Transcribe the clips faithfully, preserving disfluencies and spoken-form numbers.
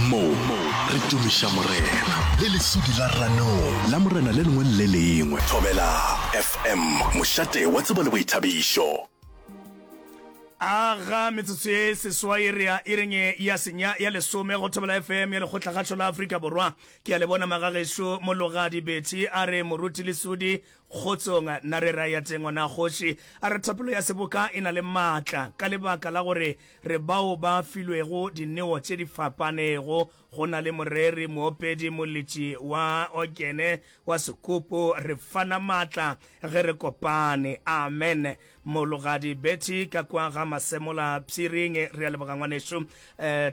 Mo re tumiša Morena le lesudi la ranong la Morena le lengwe le le lengwe. Thobela F M, mošate wa tsebo le boithabišo. Aga metsotso ye seswai re ya iring ya senya ya lesome go Thobela F M ya Lekgotlakgašo la Afrika Borwa. Ke a le bona magagešo. Mologadi Betty a re, moruti Lesodi, kgotsong. Nna re ra ya teng ngwana kgoši. A re thapelo ya seboka e na le maatla ka lebaka la gore re bao ba filwego dineo tše di fapanego. Go na le moreri, moopedi, moletši wa okene, wa sekopo. Re fana maatla ge re kopane. Amen. Mologadi Betty ka kwa ga Masemola Pshiring, re a leboga ngwanešu. um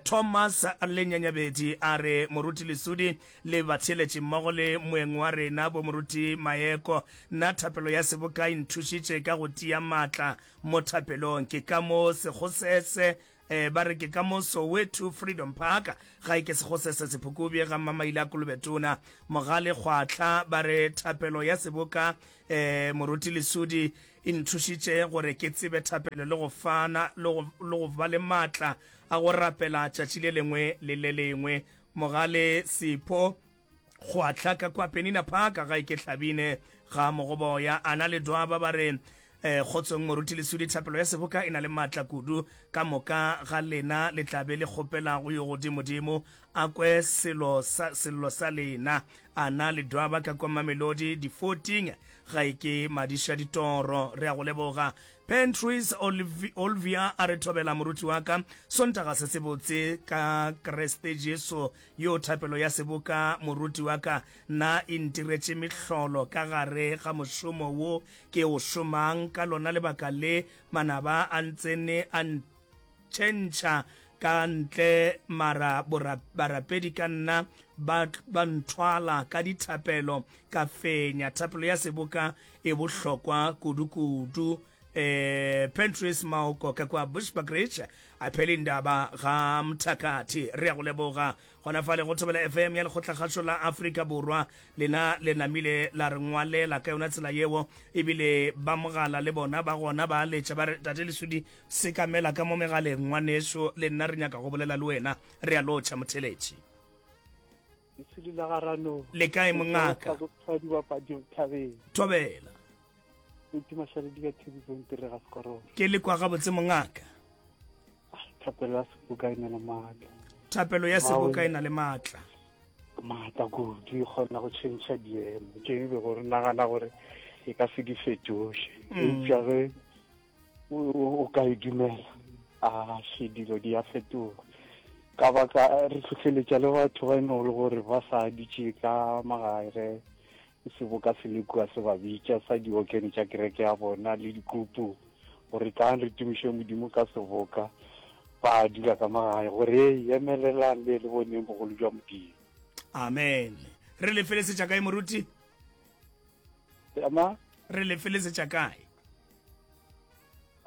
Thomas Lenyanyabedi a re, moruti Lesodi le batheeletši mmogo le moeng wa rena bo moruti Maeko, nna thapelo ya seboka e nthušitše ka go tia maatla mo thapelong. Ke ka mo Sekgosese, um ba re ke ka mo Soweto Freedom Park, ga e ke Sekgosese Sephukubje ga Mmamaile a Kolobetona. Mogale Kgwatlha ba re thapelo ya seboka, um moruti Lesodi, e nthušitše gore ke tsebe thapelo le go fana le go ba le maatla a go rapela tšatši le lengwe le le lengwe. Mogale Sepho Kgwatlha ka kwa Penina Park, ga e ke Hlabine ga Mogoboya. Ana le Dwaba ba re, eh kgotsong moruti Lesodi, thapelo ya seboka e na le maatla kudu. Ka moka ga lena le tla be le kgopela go yo godimodimo a kwe selo sa sello sa lena. Ana le Dwaba ka kwa Mamelodi di fourteen, ga e ke Madiša Ditoro, re a go leboga. Pentries Olvia a re, thobela moruti wa ka, Sontaga se se botse ka Kreste Jesu. Yo thapelo ya seboka, moruti wa ka, nna e ntiretše mehlolo ka gare ga mošomo wo ke o šomang. Ka lona lebaka le manaba a ntsene a ntšhentšha ka ntle, mara barapedi ka nna ba ba nthwala ka dithapelo, ka fenya. Thapelo ya seboka e bohlokwa kudu-kudu. eh Pentris Maoko ka kwa Bushbuckridge, a phele indaba ga Mthakathi, re ya go leboga. Gona fale go Thobela F M ya Lekgotlakgašo la Afrika Borwa, lena le namile la re ngwalela ka yona tsela yeo, ebile ba mogala le bona ba gona ba letša ba re, tate Lesodi, sekamela ka mo megaleng ngwaneso, le nna re nyaka go bolela le wena. Re a lotšha motheletši. Lesodi la garano. Le kae mongaka? Thobela. Ke le kwa gabotse mongaka. Thapelo ya seboka e na le maatla. Thapelo ya seboka e na le maatla. Maatla kudu, e kgona go tšhentšha diemo tše e bego re nagana gore e ka se di fetoše, eupša ge o ka e dumela, a še dilo di a fetoga. Ka baka re tlhotlheletša le batho ba e neng le gore ba sa ditše ka magae, ge seboka se le kua se ba bitša sa diokene tša kereke ya bona le dikupu gore tlang re tumiše Modimo ka seboka, ba dula ka magae gore e emelelang le le boneng bogolo jwa Modimo. Amen. Re le felesetša kae moruti? Ama. Re le felesetša kae?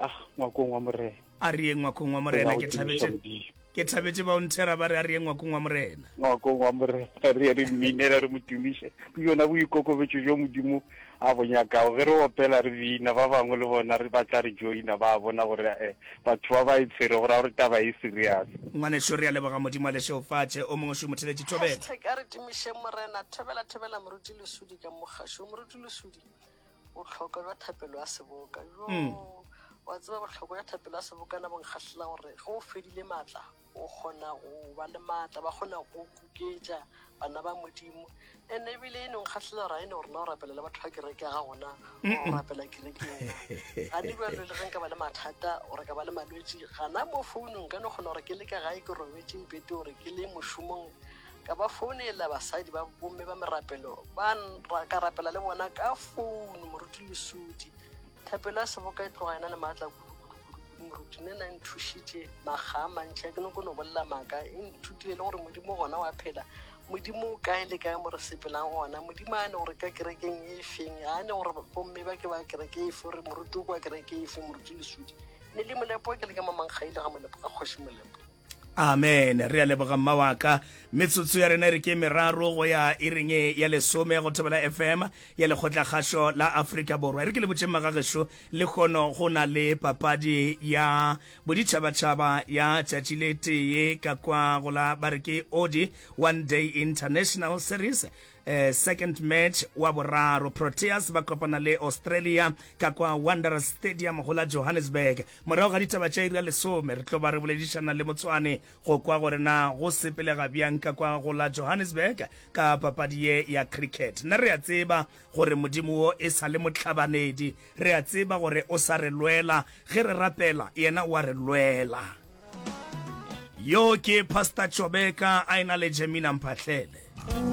Ah, ngwakong wa Morena. A re ye ngwakong wa Morena. Ke thabetše, ke thabetše ba o nthera ba re a re ye ngwakong wa Morena. Ngwakong wa Morena, re ye re mminele, re mo tumiše. Ke yona boikokobetšo bjo Modimo a bo nyakago. Ge re opela re bina, ba bangwe le bona re batla re joina, ba bona gore eh, batho ba ba e tshwere go ra gore taba e serious. Ngwaneso, re a leboga. Modimo a lešeofatše. O mongwe šo motheletši. Thobela. Hashtag a re tumišeng Morena. Thobela, thobela moruti Lesodi ka mogašo. Moruti Lesodi, bohlokwa bja thapelo ya seboka jo Mm. wa tseba, bohlokwa bja thapelo ya seboka na bonkgahlela gore ge o fedile maatla o kgona go ba le maatla, ba kgona go kuketša bana ba Modimo. And ebile e no nkgahlela gore a e ne gore na o rapela le batho ba kereke ya ga gona, o rapela kerekeng gane bjalo. Le ge nka ba le mathata gore ka ba le malwetši gana mo founung, ka no kgona gore ke le ka gae ke robetse mpete, gore ke le mošomong ka ba founela basadi ba bomme ba merapelo ba n- ka rapela le bona ka founu. Moruti Lesodi, thapelo ya seboka e tloga ena le maatla kudu-kudu-kudu. Moruti, nne na nthušitše makga a mantšhi, a ke no ko no bolela maaka. E nthutile le gore Modimo gona wa phela, Modimo o kae le kae mo re sepelang gona. Modimo a ne gore ka kerekeng e feng, a ne gore bomme ba ke ba kereke efe, gore moruti o kwa kereke efe. Moruti Lesodi, ne le Molepo, ke le ka Mamankgaile ga Molepo, ga Kgoši Molepo. Amen. Re a leboga mma wa ka. Metsotso ya rena e re ke meraro go ya iring ya lesome go Thobela F M ya Lekgotlakgašo la Afrika Borwa. E re ke le botšeng magagešo, lehono go na le papadi ya boditšhabatšhaba ya tšatši le tee ka kwa go la ba re ke Odi One Day International Series, eh, second match wa boraro. Proteas ba kopana le Australia ka kwa Wanderers Stadium go la Johannesburg. Morago ga ditaba tša iri ya lesome re tlo ba re boledišana le Motswane go kwa gore na go sepelega bjang ka kwa go la Johannesburg ka papadi ye ya cricket. Nna re a tseba gore Modimo wo e sa le mohlabanedi, re a tseba gore o sa re lwela ge re rapela, yena o a re lwela. Yo ke Pastor Chobeka a ena le Jemina Mphahlele.